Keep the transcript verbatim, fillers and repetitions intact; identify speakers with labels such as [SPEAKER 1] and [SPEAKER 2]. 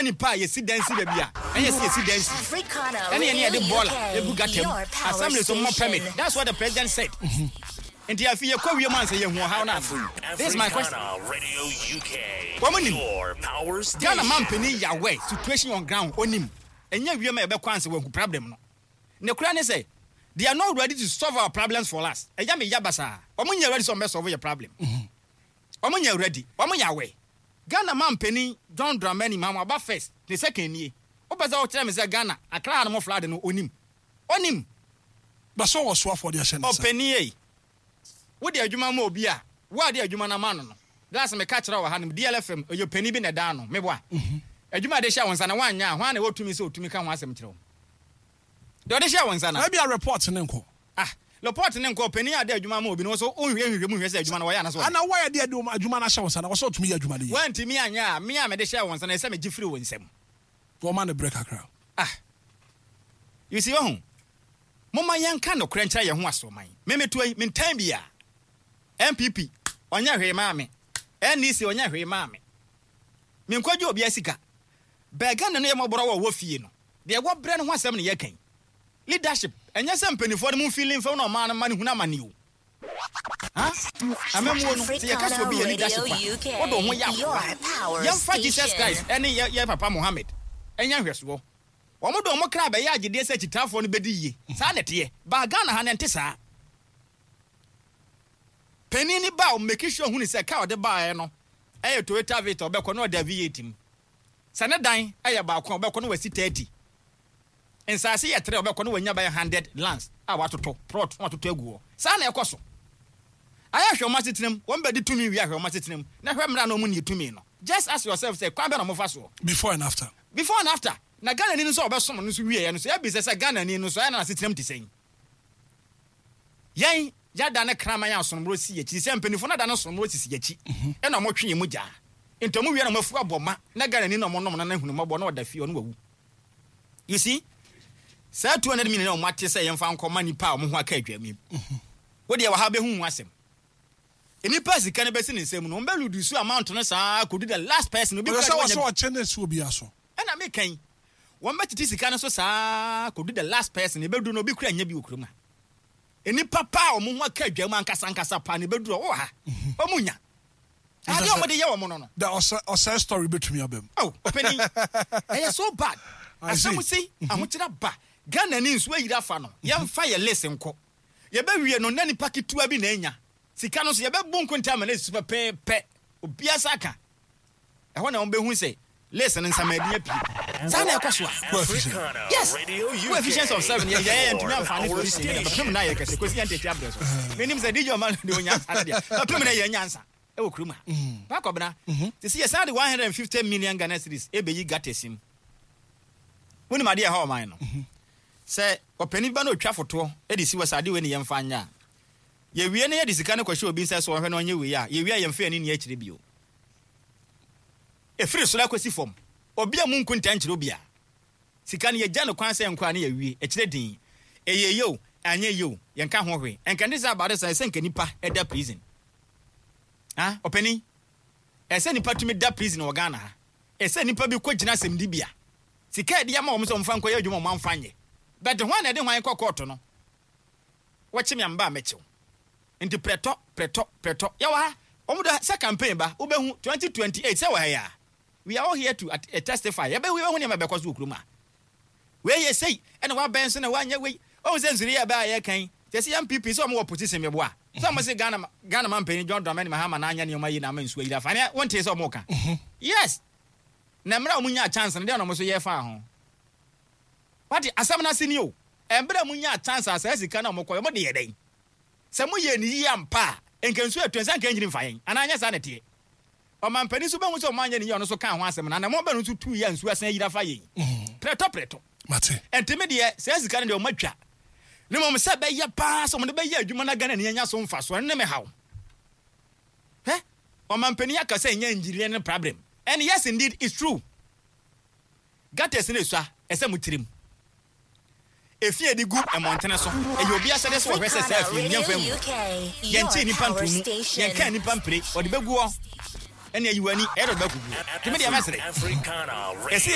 [SPEAKER 1] Nipa a yɛsi dan si baabi a ɛnyɛ sɛ yɛsi dan si ɛne yɛne yɛde bɔɔla egu gutter mu, assembly so mmɔ permit. That's what the president said. Nti afi yɛkɔ wiem ansa yɛhu ɔhaw no ase. This is my question. Wɔn nim Ghana mampanin yawɛ situation on ground, onim ɛnyɛ wiem a yɛbɛkɔ ansa wɔahu problem no. Ne kora ne sɛ they are not ready to solve our problems for us. Ɛyɛ me ya basaa. Wɔn nyɛ ready sɛ wɔn bɛ solve yɛ problem. Wɔn nyɛ ready. Wɔn yɛ awɛ. Ghana mampanin John Dramani Mahama ɔba first, ne second nie. Wopɛ sɛ wokyerɛ me sɛ Ghana Accra ha no mo flood no, onim? Onim.
[SPEAKER 2] Bɛsɛ wɔ soafoɔ de ahyɛ ne nsa.
[SPEAKER 1] Ɔpanin ei, wode adwuma ma obi a, wo a de adwuma no ama no no glass, meka kyerɛ wɔ ha nom D L F M, ɛyɛ panin bi na ɛda no meboa adwuma de hyɛ wo nsa na woanyɛ a, hwan na ɛwɔ tumi sɛ ɔtumi ka ho asɛm kyerɛ wo deɛ ɔde hyɛ wo nsa na?
[SPEAKER 2] Ebi a report ne nkɔ.
[SPEAKER 1] Ah, report ne nkɔ. Panin a de adwuma ma obi no so, wonhwɛ hwehwɛ mu hwɛ sɛ adwuma no wɔyɛ anaasɛ wɔyɛ.
[SPEAKER 2] Ana wɔyɛ deɛ de adwuma no ahyɛ wo nsa na wɔsɛ ɔtumi yɛ adwuma no yie.
[SPEAKER 1] Woantumi anyɛ a, me a mede hyɛ wo nsa no, ɛsɛ megye firi wo nsam.
[SPEAKER 2] Wɔma ne berɛ kakra.
[SPEAKER 1] Ah, you see, wahu, momma yɛnka nokorɛ nkyerɛ yɛn ho. Asoman memetoa yi mentan bi a N P P ɔnyɛ hwee maa me, N D C ɔnyɛ hwee maa me, menkɔgye obi asika bɛɛ. Ghana no yɛ mmɔborɔ wɔ wɔ fie no deɛ wɔbrɛ no ho asɛm ne yɛkan leadership. Ɛnyɛ sɛ mpanimfoɔ no mu mfili mfam na ɔmaa no ma no hunu amane o. Ha amamuo no, sɛ yɛka sɛ obi yɛ leadership a, wode wo ho yɛ akoa. Yɛmfa Jesus Christ ɛne yɛ yɛ papa Mohammed ɛnyɛ nhwɛsoɔ. Wɔn de wɔn kra bɛyɛ agyedeɛ sɛ akyitaafoɔ no bɛdi yie. Saa na ɛteɛ baa Ghana ha na ɛnte saa. Panin ni ba a, make sure hunu sɛ kaa ɔde baeɛ no ɛyɛ Toyota Vitz, ɔbɛkɔ na ɔde V eight mu. Sɛ ne dan ɛyɛ baako a, ɔbɛkɔ na wasi thirty. Nsaase yɛ tere, ɔbɛkɔ na wanya bɛyɛ hundred lands a watotɔ plot na watotɔ agu hɔ. Saa na ɛkɔ so. Ayɛ hwɛ ɔmo asetenam, wɔn bɛdi tumi wie, ahwɛ ɔmo asetenam na hwɛ mmerɛ na ɔmo nie tumi no. Just ask yourself sɛ kwan bɛ na ɔmo fa soɔ.
[SPEAKER 2] Before and after.
[SPEAKER 1] Before and after. Na Ghana ni no nso a ɔbɛsom no nso wie yɛ no so, ɛbi sɛ sɛ Ghana ni no nso ɛyɛ na n'asetenam te sɛn. Yɛn yada ne kraman a asomborɔ si akyi sɛ mpanimfoɔ no ada ne asomborɔ sisi akyi, ɛna ɔmo twe yɛn mu gyaa. Nti ɔmo wie na ɔmo afu abɔ ma na Ghana ni na ɔmo nom na n'ahunu mɔbɔ na ɔda fie, ɔno wawu. You see, saa two hundred million a ɔmo ate sɛ yɛmfa nkɔma nipa a ɔmo ho aka adwa mu, wo deɛ wɔ ha bɛhu ho asɛm. Nipa sika no bɛsi ne nsam no, ɔmo bɛ reduce amount no saa kodu the last person obi
[SPEAKER 2] ɔyɛ sɛ
[SPEAKER 1] kura
[SPEAKER 2] wɔ
[SPEAKER 1] de
[SPEAKER 2] sɛ
[SPEAKER 1] wɔnya.
[SPEAKER 2] Ɔkyɛ ne si obi aso.
[SPEAKER 1] Ɛna meka yi, wɔn bɛtete sika no so saa kodu the last person. Ebedu no, obi kura nya bi wɔ kurom ha. Nipa pa a ɔmo ho aka adwa mu ankasa ankasa pa na ebedu ɔwɔ ha, ɔmo nya adeɛ a ɔmo de yɛ wɔn no no
[SPEAKER 2] Da ɔsɛ ɔsɛ story bɛtumi aba mu.
[SPEAKER 1] Oh, ɔpanin, ɛyɛ so bad.
[SPEAKER 2] I see.
[SPEAKER 1] Asɛm si ahokyerɛ ba Ghana ni, nsuo ayiri afa no, yɛmfa yɛ list nkɔ. Yɛbɛwie no na nipa ketewa bi na anya sika no so. Yɛbɛbu nkonta ama no esi pɛpɛɛpɛ, obiara sa ka ɛhɔ na wɔn bɛhu sɛ list no nsamadi apue. Saa na ɛkɔ so a.
[SPEAKER 2] Ko efficient.
[SPEAKER 1] Yes, wo efficiency of seven yɛ yɛ ntumi amfa ne solution yɛ bɛpem na yɛ kɛse kosi yɛn tete abrɛ so. Menim sɛ D J ɔma de onya nsa no deɛ, bɛpem na yɛ nyansa ɛwɔ kurom ha bakɔbena te sɛ yɛsan de one hundred and fifty million Ghana cedis ɛbɛyi gutters mu. Wonim adeɛ ɛha ɔman no sɛ ɔpanin ba na otwa fotoɔ ɛde si wɔ sɛ adeɛ wei ne yɛmfa nyɛ a, yɛwie no, yɛde sika no kɔhyɛ obi nsa sɛ ɔhwɛ na ɔnyɛ wei a, yɛwie a, yɛmfa yɛne ni akyire bio. Ɛfiri soro akɔsi fam, obi a mu nko nta nkyerɛ obi a sika no yɛgya no kwan sɛ nkɔ a ne yɛwie akyerɛ din. Ɛyɛ yie o, anyɛ yie o, yɛnka ho hwee. Ɛnka ne sɛ abade sa ɛsɛ nka nipa ɛda prison. Ah, ɔpanin, ɛsɛ nipa tumi da prison wɔ Ghana ha. Ɛsɛ nipa bi kɔ gyina asɛmdibea. Sika yɛde ama wɔn sɛ wɔmfa nkɔyɛ adwuma, wɔn amfa nyɛ, but hwan na ɛde hwan kɔ kɔɔto no? Wɔkye me amba a, mɛkyew. Nti prɛtɔ prɛtɔ prɛtɔ yɛwɔ ha. Wɔn de sɛ campaign ba, wobɛhu twenty twenty-eight sɛ wɔ ha yi a, we are all here to at, uh, testify. Yɛbɛhu, yɛbɛhu nneɛma bɛkɔ so wɔ kurom a wei yɛ sei ɛna wabɛn so na wanyɛ wei. Ɔhu sɛ nsuri yɛ bɛɛ a yɛkan kyɛ sɛ yɛn N P P sɛ ɔmo wɔ position mɛboa sɛ ɔmo se Ghana Ghana man panyin John Dramani Mahama na anya nneɛma yi na ama nsuo ayiri afa ne. Wɔnte sɛ ɔmo ka yes, na mmerɛ a ɔmo nya chance no deɛ na ɔmo so yɛ fa ho. Wate asɛm no ase ni o. Mmerɛ a mo nya chance a, saa sika na ɔmo kɔ, ɔmo de yɛ dɛn? Sɛ mo yɛ ne yie ampa a, nka nsuo ɛtɔ nsa nka nyini mfa yɛn anaa? Nyɛ saa na ɛteɛ? Ɔmampanin nso bɛhu sɛ ɔmo anyɛ ne yie, ɔno nso ka ho asɛm na anamɔ bɛ no nso tu yɛ nsuo asan ayiri afa yɛn prɛtɔ prɛtɔ.
[SPEAKER 2] Mate.
[SPEAKER 1] Ɛntumi deɛ, saa sika no deɛ ɔmo atwa ne mmom sɛ bɛyɛ paa sɛ ɔmo de bɛyɛ adwuma na Ghana ni anya so mfa so, ɛno ne me haw. Hɛ, ɔmampanin aka sɛ ɛnyɛ engineer ne problem, and yes, indeed, it's true. Gutters ne esua ɛsɛ mo tirim efi edi gu mmɔntene so. Ɛyɛ obi asɛde sɛ ɔhwɛ sɛ saa efi nyɛ nfa mu. Yɛnkyɛ nipa ntomu, yɛnka nipa mpire, ɔde bɛgu hɔ ɛne ayi w'ani ɛyɛ dɛ ɔde bɛkɔ gu hɔ. Tumi deɛ, mɛsrɛ ɛsɛ.